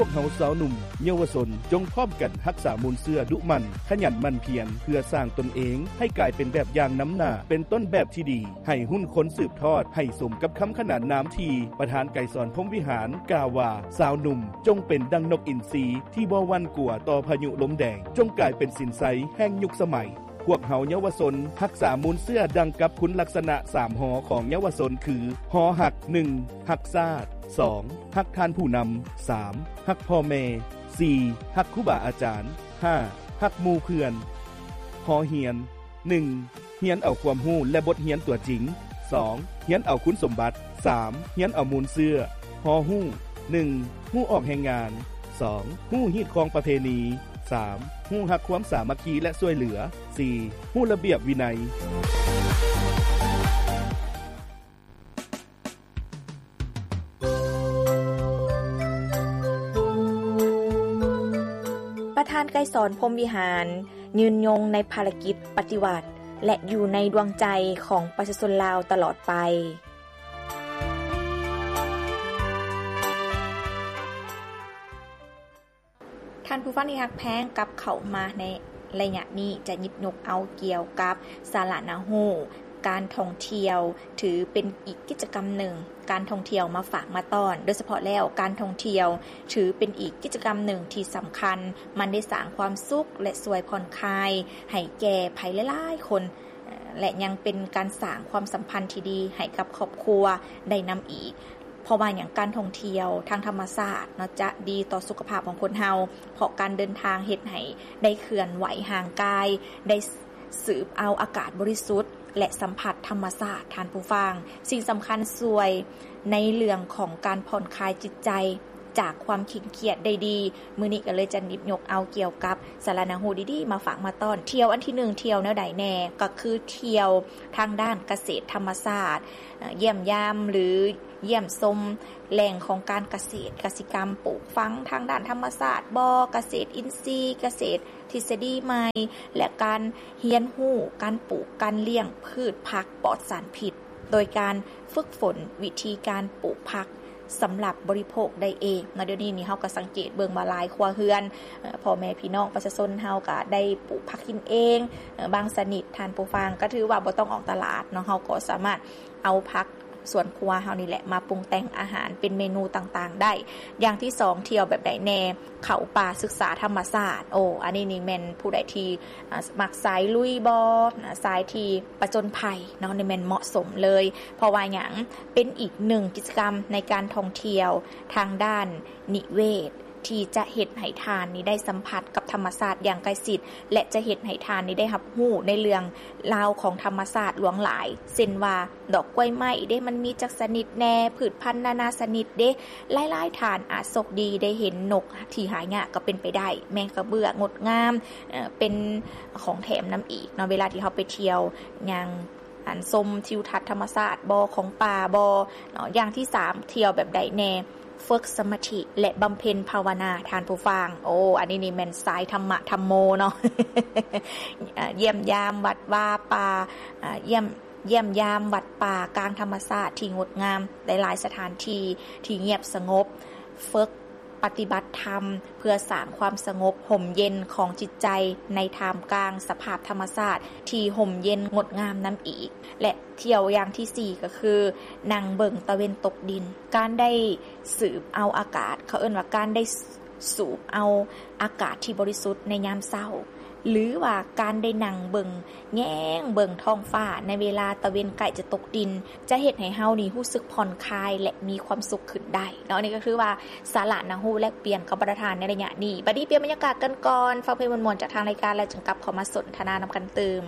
ພວກເຮົາຊາວໜຸ່ມເຍົາວະຊົນ ຈົ່ງພ້ອມກັນຮັກສາມູນເຊື້ອດຸໝັ່ນ, ຂະຫຍັນໝັ່ນພຽນ ເພື່ອສ້າງຕົນເອງໃຫ້ກາຍເປັນແບບຢ່າງນຳໜ້າ, ເປັນຕົ້ນແບບທີ່ດີໃຫ້ຮຸ່ນຄົນສືບທອດ, ໃຫ້ສົມກັບຄຳຂນານນາມທີ່ປະທານໄກສອນ ພົມວິຫານ ກ່າວວ່າ, ຊາວໜຸ່ມຈົ່ງເປັນດັ່ງນົກອິນຊີທີ່ບໍ່ຫວັ່ນກົວຕໍ່ພາຍຸລົມແດງ, ຈົ່ງກາຍເປັນສິນໄຊແຫ່ງຍຸກສະໄໝ. ພວກເຮົາເຍົາວະຊົນຮັກສາມູນເຊື້ອດັ່ງກັບຄຸນລັກສະນະສາມ ຮ ຂອງເຍົາວະຊົນຄື ຮ ຮັກ, ໜຶ່ງ ຮັກຊາດ, ສອງ ຮັກທ່ານຜູ້ນຳ, ສາມ ຮັກພໍ່ແມ່, ສີ່ ຮັກຄູບາອາຈານ, ຫ້າ ຮັກໝູ່ເພື່ອນ. ຮ ຮຽນ, ໜຶ່ງ ຮຽນເອົາຄວາມຮູ້ ແລະ ບົດຮຽນຕົວຈິງ, ສອງ ຮຽນເອົາຄຸນສົມບັດ, ສາມ ຮຽນເອົາມູນເຊື້ອ. ຮ ຮູ້, ໜຶ່ງ ຮູ້ອອກແຮງງານ, ສອງ ຮູ້ຮີດຄອງປະເພນີ, ສາມ ຮູ້ຮັກຄວາມສາມັກຄີ ແລະ ຊ່ວຍເຫຼືອ, ສີ່ ຮູ້ລະບຽບວິໄນ. ປະທານໄກສອນ ພົມວິຫານ ຍືນຍົງໃນພາລະກິດປະຕິວັດ ແລະ ຢູ່ໃນດວງໃຈຂອງປະຊາຊົນລາວຕະຫຼອດໄປ. ທ່ານຜູ້ຟັງທີ່ຮັກແພງ, ກັບເຂົ້າມາໃນໄລຍະນີ້ຈະຫຍິບຍົກເອົາກ່ຽວກັບສາລະໜ້າຮູ້ ການທ່ອງທ່ຽວຖືເປັນອີກກິດຈະກຳໜຶ່ງ, ການທ່ອງທ່ຽວມາຝາກມາຕ້ອນ, ໂດຍສະເພາະແລ້ວການທ່ອງທ່ຽວຖືເປັນອີກກິດຈະກຳໜຶ່ງທີ່ສຳຄັນ, ມັນໄດ້ສ້າງຄວາມສຸກ ແລະ ຊ່ວຍຜ່ອນຄາຍໃຫ້ແກ່ໃຜຫຼາຍໆຄົນ, ແລະ ຍັງເປັນການສ້າງຄວາມສຳພັນທີ່ດີໃຫ້ກັບຄອບຄົວໄດ້ນຳອີກ. ເພາະວ່າຫຍັງ? ການທ່ອງທ່ຽວທາງທຳມະຊາດເນາະ ຈະດີຕໍ່ສຸຂະພາບຂອງຄົນເຮົາ, ເພາະການເດີນທາງເຮັດໃຫ້ໄດ້ເຄື່ອນໄຫວຮ່າງກາຍ, ໄດ້ສືບເອົາອາກາດບໍລິສຸດ ແລະ ສຳຜັດທຳມະຊາດ, ທ່ານຜູ້ຟັງ. ສິ່ງສຳຄັນຊ່ວຍໃນເລື່ອງຂອງການຜ່ອນຄາຍຈິດໃຈຈາກຄວາມເຄັ່ງຄຽດໄດ້ດີ. ມື້ນີ້ກໍເລີຍຈະຫຍິບຍົກເອົາກ່ຽວກັບສາລະໜ້າຮູ້ດີໆມາຝາກມາຕ້ອນ. ທ່ຽວອັນທີໜຶ່ງ ທ່ຽວແນວໃດແດ່? ກໍຄືທ່ຽວທາງດ້ານກະເສດທຳມະຊາດ, ເອີ່ ຢ້ຽມຢາມ ຫຼື ຢ້ຽມຊົມແຫຼ່ງຂອງການກະເສດ, ກະສິກຳປູກຝັງທາງດ້ານທຳມະຊາດບໍ, ກະເສດອິນຊີ, ກະເສດທິດສະດີໃໝ່ ແລະ ການຮຽນຮູ້ການປູກການລ້ຽງພືດຜັກປອດສານພິດ ໂດຍການຝຶກຝົນວິທີການປູກຜັກສຳລັບບໍລິໂພກໄດ້ເອງເນາະ. ດຽວນີ້ນີ້ເຮົາກໍສັງເກດເບິ່ງວ່າຫຼາຍຄົວເຮືອນ, ເອີ່ ພໍ່ແມ່ພີ່ນ້ອງປະຊາຊົນເຮົາກໍໄດ້ປູກຜັກກິນເອງ, ເອີ່ ບາງຊະນິດ ທ່ານຜູ້ຟັງ, ກໍຖືວ່າບໍ່ຕ້ອງອອກຕະຫຼາດເນາະ, ເຮົາກໍສາມາດເອົາຜັກ ສວນຄົວເຮົານີ້ແຫຼະ ມາປຸງແຕ່ງອາຫານເປັນເມນູຕ່າງໆໄດ້. ຢ່າງທີສອງ ທ່ຽວແບບໃດແດ່? ເຂົ້າປ່າສຶກສາທຳມະຊາດ. ໂອ້ ອັນນີ້ນີ້ແມ່ນຜູ້ໃດທີ່ ອ່າ ມັກສາຍລຸຍບໍ, ສາຍທີ່ປະຈົນໄພເນາະ, ນີ້ແມ່ນເໝາະສົມເລີຍ. ເພາະວ່າຫຍັງ? ເປັນອີກໜຶ່ງກິດຈະກຳໃນການທ່ອງທ່ຽວທາງດ້ານນິເວດ ທີ່ຈະເຮັດໃຫ້ທ່ານນີ້ໄດ້ສຳຜັດກັບທຳມະຊາດຢ່າງໃກ້ຊິດ ແລະ ຈະເຮັດໃຫ້ທ່ານນີ້ໄດ້ຮັບຮູ້ໃນເລື່ອງລາວຂອງທຳມະຊາດຫຼວງຫຼາຍ ເຊັ່ນວ່າ ດອກກ້ວຍໄມ້ເດ້ ມັນມີຈັກຊະນິດແດ່, ພືດພັນນານາຊະນິດເດ້. ຫຼາຍໆທ່ານອາດໂຊກດີໄດ້ເຫັນນົກທີ່ຫາຍາກກໍເປັນໄປໄດ້, ແມງກະເບື້ອງົດງາມ, ເປັນຂອງແຖມນຳອີກເນາະ ເວລາທີ່ເຮົາໄປທ່ຽວ ຍ່າງ ອັນ ຊົມທິວທັດທຳມະຊາດບໍ ຂອງປ່າບໍເນາະ. ຢ່າງທີສາມ ທ່ຽວແບບໃດແດ່? ຝຶກສະມາທິ ແລະ ບຳເພັນພາວະນາ ທ່ານຜູ້ຟັງ. ໂອ້ ອັນນີ້ນີ້ແມ່ນສາຍທຳມະທຳໂມເນາະ. ເອີ່ ຢ້ຽມຢາມວັດວາປ່າ, ເອີ່ ຢ້ຽມ ຢ້ຽມຢາມວັດປ່າກາງທຳມະຊາດທີ່ງົດງາມ, ຫຼາຍໆສະຖານທີ່ທີ່ງຽບສະຫງົບ, ຝຶກ ປະຕິບັດທຳເພື່ອສ້າງຄວາມສະຫງົບຮົ່ມເຢັນຂອງຈິດໃຈໃນທ່າມກາງສະພາບທຳມະຊາດທີ່ຮົ່ມເຢັນງົດງາມນຳອີກ. ແລະ ທ່ຽວຢ່າງທີສີ່ກໍຄືນັ່ງເບິ່ງຕາເວັນຕົກດິນ. ການໄດ້ສູບເອົາອາກາດ, ເຂົາເອີ້ນວ່າການໄດ້ສູບເອົາອາກາດທີ່ບໍລິສຸດໃນຍາມເຊົ້າ ຫຼືວ່າການໄດ້ນັ່ງເບິ່ງ ແຍງເບິ່ງທ້ອງຟ້າໃນເວລາຕາເວັນໃກ້ຈະຕົກດິນ ຈະເຮັດໃຫ້ເຮົານີ້ຮູ້ສຶກຜ່ອນຄາຍ ແລະ ມີຄວາມສຸກຂຶ້ນໄດ້ເນາະ. ອັນນີ້ກໍຄືວ່າສາລະໜ້າຮູ້ແລກປ່ຽນກັບບັນດາທ່ານໃນໄລຍະນີ້. ບັດນີ້ປ່ຽນບັນຍາກາດກັນກ່ອນ, ຟັງເພງມ່ວນໆຈາກທາງລາຍການ ແລ້ວຈຶ່ງກັບເຂົ້າມາສົນທະນານຳກັນຕື່ມ.